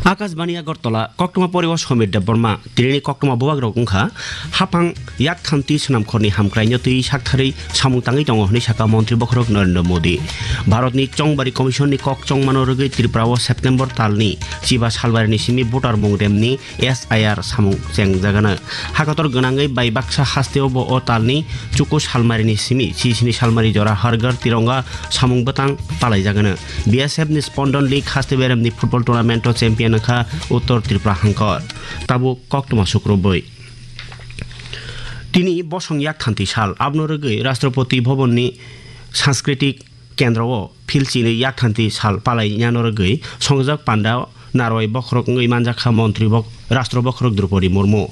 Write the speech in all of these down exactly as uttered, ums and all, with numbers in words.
Akashbani Agartala, koktwma poriwo Somir Debbarma, tinini koktwma bubagrok wngkha, hapang yak thanti swnamkhorni hamkraino twi saktharwi samung tangwi tongo hwnwi sakha Montri Bokhorok Narendra Modi. Bharatni Chongbari Commissionni kok chongmano rwgwi Tripurao September talni chiba salbarini simi voter mung remni S I R samung chengjagano. Hakotor gwnangwi bai baksa hasteo bo o talni chuku salmarini simi sisini salmari jora Har Ghar Tironga samung bwtang palaijagano. B S F ni Spondon League haste beremni football tournament o champion wngkha Uttor Tripura hangkor. Tabuk koktwma sukrubwi. Tini bosong yak thanti sal, abno rwgwi Rashtrapati Bhavan ni Sanskritik Kendro o philchini yak thanti sal palai nano rwgwi songjak panda narwai bokhorok wngwi manjakha montri bok-, rashtra bokhorok Droupadi Murmu.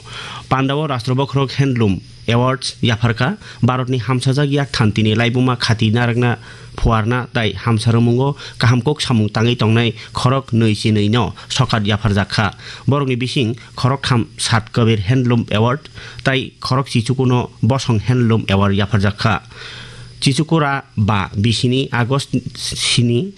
Panda o rashtra bokhorok handloom awards yapharkha, Bharatni hamsajak yak thantini laibuma khati narwkna phuarna tai hamsa rwmungo kaham kok samung tangwi tongnai khorok nwi chinwi no sokat yapharjakha. Borokni bising khorok tham Sat Kabir Handloom Award tai khorok chichukuno Bosong Handloom Award yapharjakha. Chichukura ba bisini August sini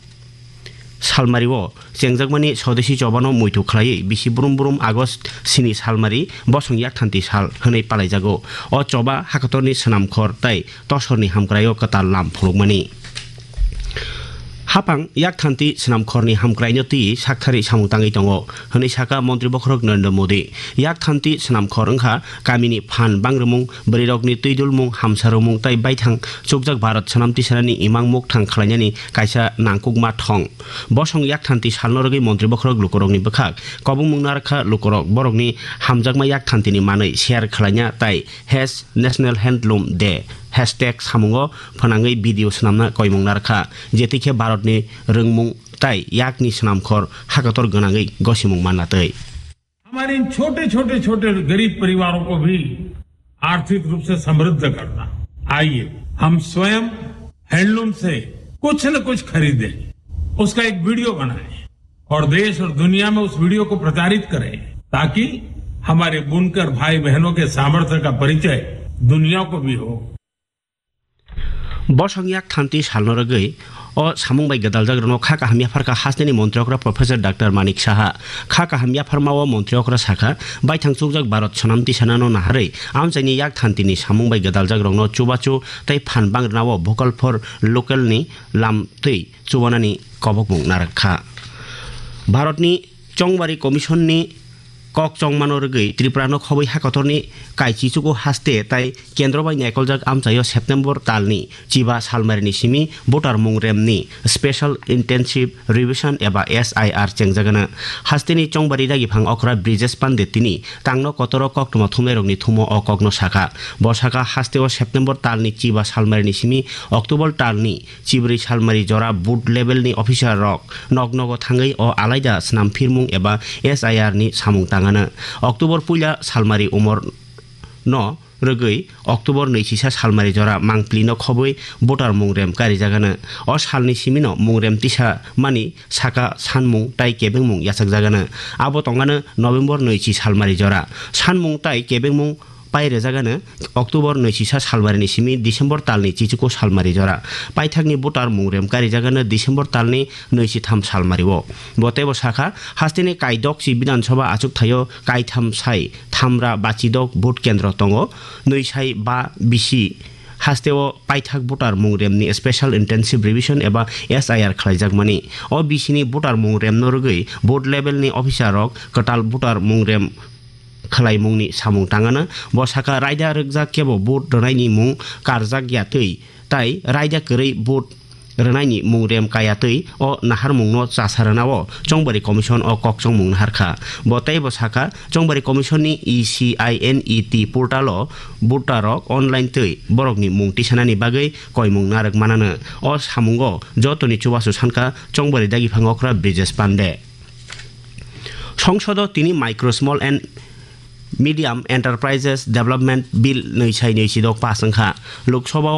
salmario chengjakmani Swadeshi chobano muitu khlaiwi bisi brum brum August sini salmari bosong yak thanti sal hwnwi palaijago. O choba hakotorni swnamkhor tai tosorni hamkraio kwtal lam phunukmani. Hapang yak thanti swnamkhorni hamkraino twi sakthari samung tangwi tongo, hwnwi sakha Montri Bokhorok Narendra Modi. Yak thanti swnamkhor wngkha kamini phan bangrwmung, bwrwirokni twidulmung, hamsarwmung tai baithang chukjak Bharat swnam tisanani imang mukthang khlainani kaisa nangkukma thong. Bosong yak thanti salno rwgwi Montri Bokhorok lukurokni bwkhak kobongmung narwkha, lukurok borokni hamjakma yak thantini manwi share khlaina tai Has National Handloom Day hashtag samungo phwnangwi video swnamna koimung narwkha, jetikhe Bharatni rwngmung tai yakni swnamkhor hakotor gwnangwi gosimung manna twi. हमारे इन छोटे छोटे छोटे गरीब परिवारों को भी आर्थिक रूप से समृद्ध करना। आइए, हम स्वयं हैंडलूम से कुछ न कुछ खरीदें, उसका एक वीडियो बनाएं और देश और दुनिया में उस वीडियो को प्रचारित करें, ताकि हमारे बुनकर भाई बहनों के सामर्थ्य का परिचय दुनिया को भी हो। Bosong yak thanti salno rwgwi o samung bai gwdaljakrokno kha kaham yapharkha hasteni montri okra Professor Doctor Manik Saha. Kha kaham yapharmao montri okra sakha, baithang chukjak Bharat swnam tisanano naharwi amchaini yak thantini samung bai gwdaljakrokno chubachu tei phan bangrwnao Vocal for Local ni lam twi chubanani kobokmung narwkha. Bharatni Chongbari Commission ni kok chongmano rwgwi Tripura no khobwi hakotorni kaichichuku haste tai kendro bai naikoljak amchaio September talni chiba salmarini simi voter mung remni Special Intensive Revision eba S I R chengjagana. Hasteni Chongbari dagiphang okra Brijesh Pande tini tangno kotoro koktwma thumnairokni thumo o kokno sakha. Bo sakha, hasteo September talni chiba salmarini simi October talni chibrwi salmari jora booth level ni officer rok nok nogo thangwi o alaida swnam phirmung eba S I R ni samung tangano. October puila salmari umor no rwgwi October nwi chisa salmari jora mangpli no khobwi voter mung rem karijagano. O salni simino mung rem tisa mani saka sanmung tai kebengmung yachakjagano. Abo tongano November nwi chi salmari jora. Sanmung tai kebengmung pai rwjagano October nwi chisa salmarini simi December talni chichuku salmari jora. Paithakni voter mung rem karijagano December talni nwi chi tham salmario. Bo teibo sakha, hasteni kaidok chi Bidhan Sabha achuk thaio kaitham sai thamra bachidok vote kendro tongo, nwi sai ba bisi hasteo paithak voter mung remni Special Intensive Revision eba S I R khlaijakmani. O bisini voter mung remno rwgwi booth level ni officer rok kwtal voter mung rem khlaimungni samung tangano. Bo sakha, raida rwkjak kebo vote rwnaini mung karjak ya twi tai raida kwrwi vote rwnaini mung rem kaya twi o naharmungno chasa rwnao Chongbari Commission o kokchongmung naharkha. Bo teibo sakha, Chongbari Commission ni E C I N E T portal o voter rok online twi borokni mung tisanani bagwi koimung narwk manano. O samungo jotoni chubachu sankha Chongbari dagiphang okra Brijesh Pande. Songsodo tini Micro, Small and Medium Enterprises Development Bill nwi sai nwi sidok pass wngkha. Lok Sabha